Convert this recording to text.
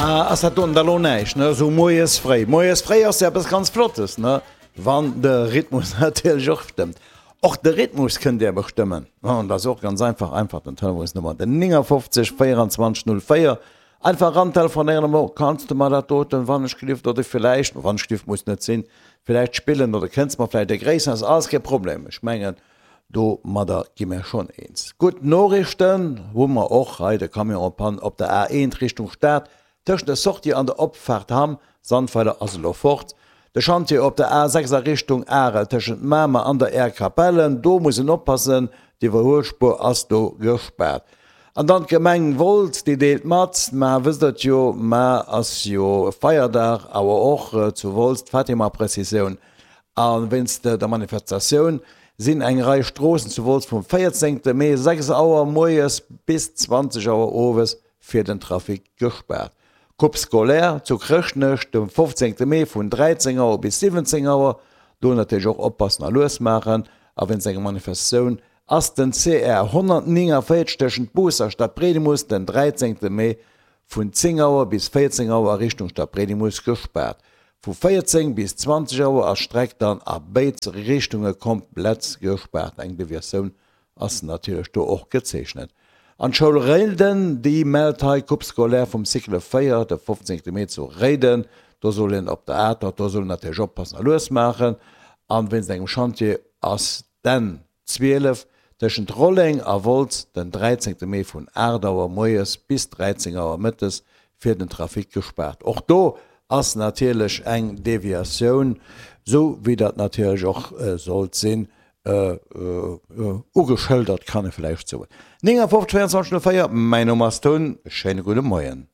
Ah, ass dat doten da lo näischt, ne? Esou moies fréi. Moies fréi ass jo eppes ganz Flottes, ne? Wann de Rhythmus natierlech och stëmmt. Och de Rhythmus kënnt Dir bestëmmen. An dat ass och ganz einfach, einfach den Telefonsnummer, den 59 24 04. Einfach erantelefonéieren an soen, Kanns de mer dat doten, wann ech gelift, oder villäicht, wann ech gelift muss net sinn, villäicht spillen oder kënns mer villäicht begréissen, ass alles kee Problem. Ech mengen, domadder gi mir schonn eens. Gutt Noriichten hu mer och hei, de Camion en panne op der A1 Richtung Stad tëschent der Sortie an der Opfaart Hamm, Sandweiler ass elo fort. De Chantier op der A6 a Richtung Arel tëschent Mamer an der Aire Capellen, do muss een oppassen, d'Iwwerhuelspuer ass do gespaart. An dann d'Gemeng Wolz, déi deelt mat, mar wësst der et jo, mar ass jo Feierdag, awer och zu Wolz d'Fatima-Prëssissioun. A wéinst der Manifestatioun sinn eng Rei Stroossen zu Wolz vum 14 Mee 6 Auer moies bis 20 Auer owes fir den Trafic gespaart. Coupe scolaire zu Chrëschtnech de 15 Mee vun 13 Auer bis 17 Auer. Do natierlech och oppassen a lues maachen. A wéinst enger Manifestatioun ass den CR 149 tëschent Booss a Stadbriedemus den 13 Mee vun 10 Auer bis 14 Auer a Richtung Stadbriedemus gespaart. Vu 14 bis 20 Auer ass d'Streck dann a béid Richtunge komplett gespaart. Eng Deviatioun ass natierlech do och gezeechnet. An d'Schoul Réiden, déi mellt hei Coupe scolaire vum Cycle 4 de 15 Mee zu Réiden. Do soll een op der Atert, do soll een natierlech oppassen a lues maachen. An wéinst engem Chantier ass d'N 12 tëschent Rolleng a Wolz den 13 Mee vun 8 Auer moies bis 13 Auer mëttes fir den Trafic gespaart. Och do ass natierlech eng Deviatioun, sou wéi dat natierlech och sollt sinn, ugeschëldert, kann e vläicht soen. 59 24 04, mäin Numm ass Tun, schéine gudde Moien.